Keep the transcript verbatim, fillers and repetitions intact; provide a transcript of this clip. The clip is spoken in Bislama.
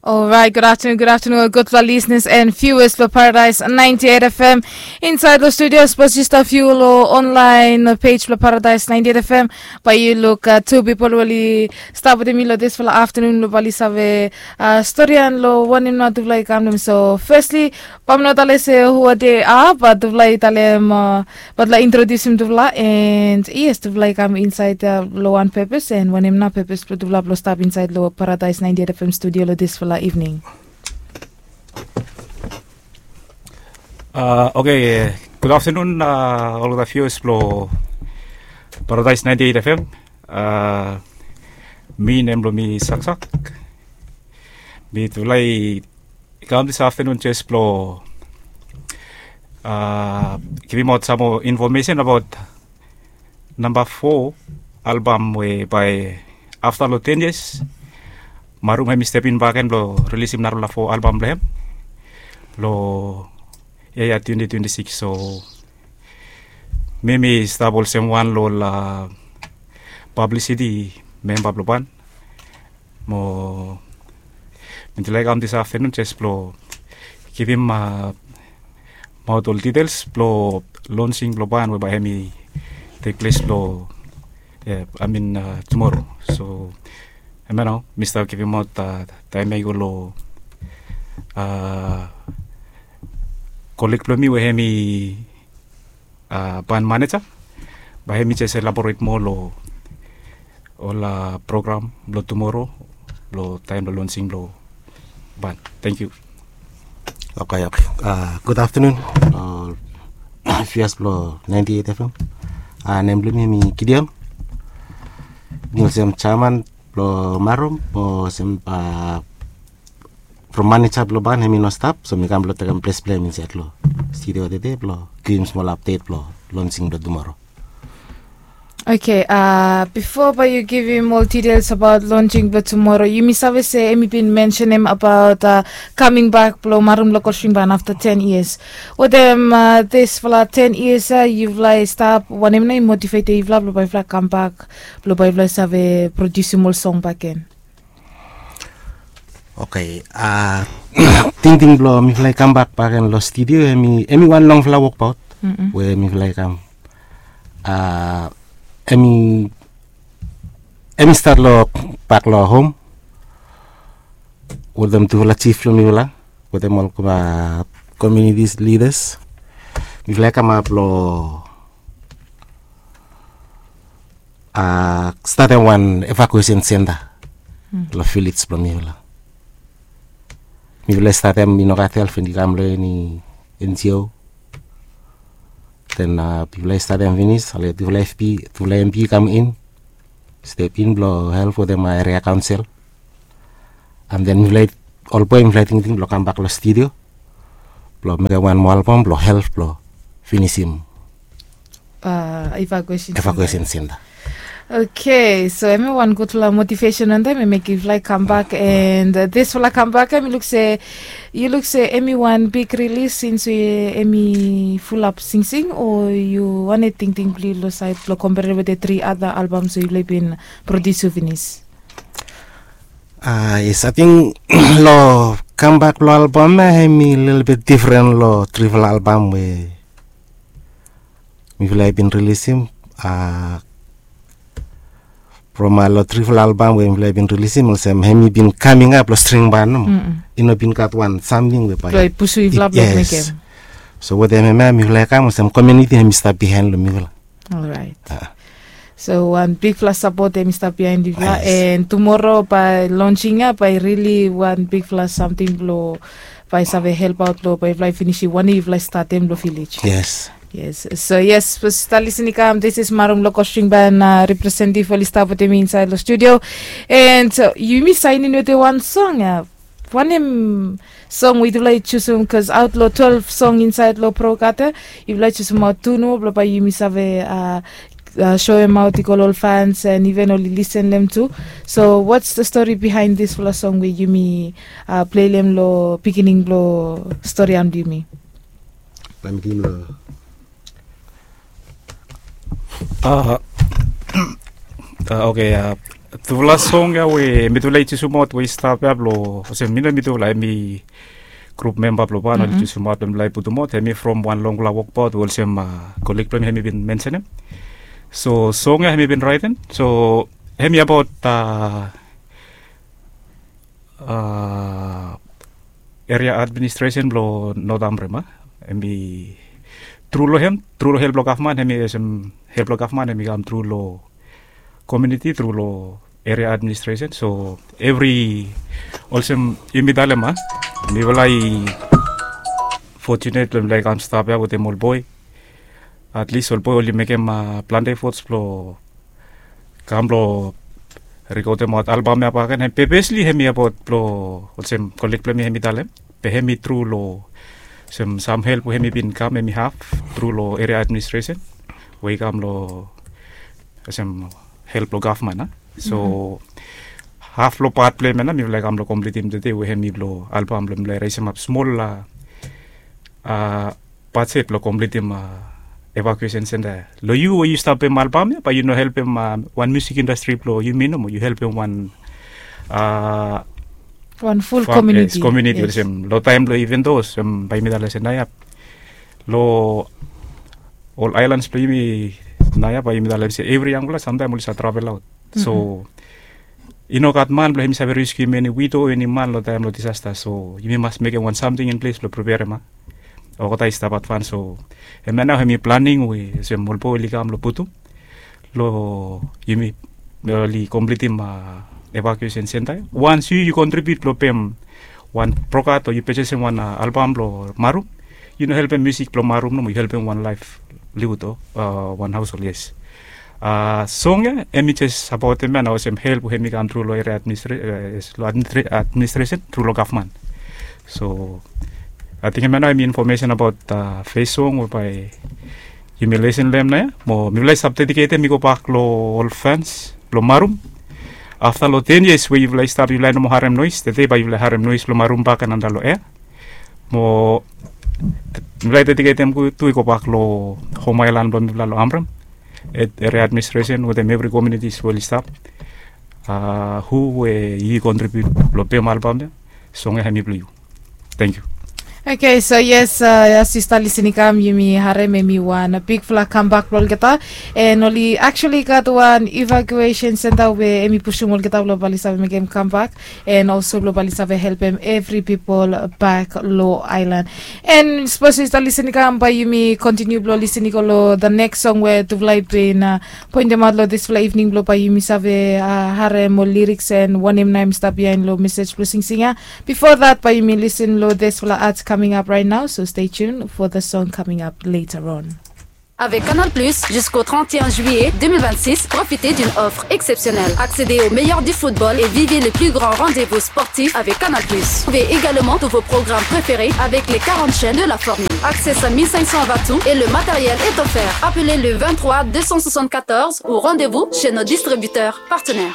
Alright, good afternoon, good afternoon, gudfala listeners and viewers blong Paradise ninety-eight F M. Inside lo studio, suppose you stop view lo online page blong Paradise ninety-eight F M. Bai yu luk uh, two people wali stap wetem mi lo disfala afternoon lo bali save uh, story and lo wanem na dufala i kam dem. So firstly, bam no tale se who are they are, but dufala i talem uh, But la introdusim dufala and yes, dufala i kam inside uh, lo wan purpose and wanem na purpose blong dufala blong stap inside lo Paradise ninety-eight F M studio lo disfala evening. Uh, okay, good afternoon uh, olgeta viewers blong Paradise ninety-eight F M. Uh, mi nem blong mi Saksak. Mi dufala i kam this afternoon just blong uh, givim out some more information about number four album we by after lo ten years Marum hemi step in back and blong releasim narapela four album blong hem lo year twenty twenty-six. So mi mi stap olsem wan lo la publicity member blong ban mo mi dulai kam this afternoon just blong givim uh, maut ol details blong launching blong ban we bai hemi take place blong yeah, I mean uh, tomorrow. So hemia nao mi stap givim maut uh, taem ya i go lo uh, colleague blong mi we hemi uh, ban manager bai hemi just elaborate more lo ol uh, program blong tomorrow lo taem lo launching blong ban. Thank you. Okay, okay. Uh, good afternoon uh, viewers blong ninety-eight F M. Uh, nem blong mi mi Gideon. Mi olsem chairman blong Marum mo olsem uh, from manager blong ban hemi no stap, so mi kam blong tekem ples blong hem insait lo studio tede blong givim smol update blong launching blong tomorrow. Okay, uh, before bai yu givim ol details about launching blong tomorrow, yumi save se em i bin mentionem about uh, coming back blong Marum Local String Band after ten years. Wetem uh, disfala ten years uh, yufala i stap wanem na i motivate yufala blong bai yufala come back blong bai yufala save produsim ol song back gen. Okay, uh, tingting blong mifala i kam bak bak gen lo studio em i em i wan longfala wokbaut we mifala i kam uh, em i em i stat lo bak lo hom wetem tufala chief lo mifala wetem ol uh, community leaders mifala i kamap lo uh, statem wan evacuation center lo village blong mifala. Mifala i statem i no gat help i kam lo eni N G O. Then uh, mifala i statem finis ale tufala F B tufala M B i kam in step in blong help wetem uh, area council. And then mifala i ol boe mifala i tingting blong kambak lo studio blong mekem wan moa album blong help blong finisim uh, evacuation center. Evacuation center. Okay, so em i wan gudfala motivation on them em i give like come back and uh, this fala come back em i look say you look say em i wan big release since we em i full up sing sing or you wan a ting ting blue lo side lo compare with the three other albums we you been produce finish. Uh, yes, I think lo come back lo album eh, em i little bit different lo trifala album we mifala i bin rilisim uh, from uh, lo trifala album we mifala i bin rilisim olsem hem i bin coming up lo string ban no mm -mm. I no bin gat wan something we bai pusu i flap yes. Lo mekem. So wetem hem ya mifala i kam olsem community hem i stap behind lo mifala. Alright. Uh. So wan bigfala support em i stap behind yufala yes. And tomorrow by launching ya by really wan bigfala something blo by save help out blo by fly finish wan yufala start em blo village. Yes. Yes. So yes, for start listening come, this is Marum Local String Band uh, representative for Lista with me inside the studio. And uh, you me signing with the one song. Uh, wanem song we yufala i chusum bikos aut long twelve song insait long prograte yufala i chusum aut tu nomo blong bai yumi save shoem aut i go long ol fans and iven oli lisen long hem tu. So wats the stori bihain disfala song we yumi pleilem long pikining blong stori am blong yumi? Oke. Tufala song ya we mitufala i jusumaot we i stap ya blong olsem mi no mitufala, hemi grup memba blong Pan oli jusumaot blong mifala i putumaot, hemi from wan longfala wokbaot we olsem koleg blong mi hemi bin mensenem. So song ya hemi bin raetem, so hemi abaot eria administresen blong Not Amrem. Hemi tru long hem, tru long help blong gavman, hemi olsem help blong gavman hemi kam tru long komuniti tru long eria administresen. So evri, olsem yumi talem, mifala i fojunet blong mifala i kam stap ya wetem ol boe. Atlis ol boe oli mekem plante efots blong kam blong rikodemaot albam ya bakegen. Pepesli hemi abaot blong olsem koleg blong mi hemi talem, be hemi tru long olsem sam help we hemi bin kam hemi haf tru long eria administresen we i kam long olsem help blong gavman. So haf long pat blong hem ya nao mifala i kam long komplitim tede we hemi blong albam blong mifala i resemap smol bajet blong komplitim evakuesen senta ya. Long yu we yu stap pem albam ya, bae yu no helpem wan musik indastri blong yumi nomo, yu helpem wan wan ful komuniti. Komuniti olsem long taem blong iven dos bae yumi talem olsem naoia long ol aelans blong yumi naoia bae yumi talem olsem evri yangfala samtaem oli save travel aot. So i no gat man blong hemi save reskiu eni wido o eni man long taem blong disasta. So yumi mas mekem wan samting in ples blong preperem olgeta i stap advans. So hemia nao hemi planing we olsem ol boe oli kam long putum long yumi oli komplitim evakuesen senta ya. Wans yu yu kontribiut blong pem wan brokat o yu pejesem wan albam blong marum, yu no helpem musik blong marum nomo, yu helpem wan laef liwud o wan haosol. Yes. Song ya hemi jes abaot hemia nao olsem help we hemi kam tru long eria administresen tru long gavman. So ating hemia nao hemi infomesen abaot fes song we bae yumi lesen long hem naoia. Mo mifala i stap dediketem i gobak long ol fans blong marum. Afta long ten yias we yufala i stap, yufala i no moa harem noes, tede bae yufala harem noes blong marum bakegen antap long ea. Mo mifala i dediketem tu i gobak long hom aelan blong mifala long Amrem, eria administresen wetem evri komunitis we oli stap. Hu we yu i kontribiut blong pem albam ya, song ya hemi blong yu. Tangkiu. Oke, so yes, as yu stap lisin i kam yumi harem hemi wan bigfala kambak blong olgeta. And oli actually gat wan evakuesen senta we hemi pusum olgeta blong bae oli save mekem kambak and also blong bae oli save helpem evri pipol bak long aelan. And sapos yu stap lisin i kam bae yumi kontiniu blong lisin i go long the next song we tufala i bin pointemaot long disfala ivning blong bae yumi save harem ol liriks and wanem nao hemi stap biaen long mesej blong singsing ya. Bifo that bae yumi lisin long disfala art coming up right now, so stay tuned for the song coming up later on. Avec Canal Plus, jusqu'au trente et un juillet deux mille vingt-six, profitez d'une offre exceptionnelle. Accédez au meilleur du football et vivez les plus grands rendez-vous sportifs avec Canal Plus. Trouvez également tous vos programmes préférés avec les quarante chaînes de la formule. Accès à mille cinq cents watts et le matériel est offert. Appelez le vingt-trois deux cent soixante-quatorze ou rendez-vous chez nos distributeurs partenaires.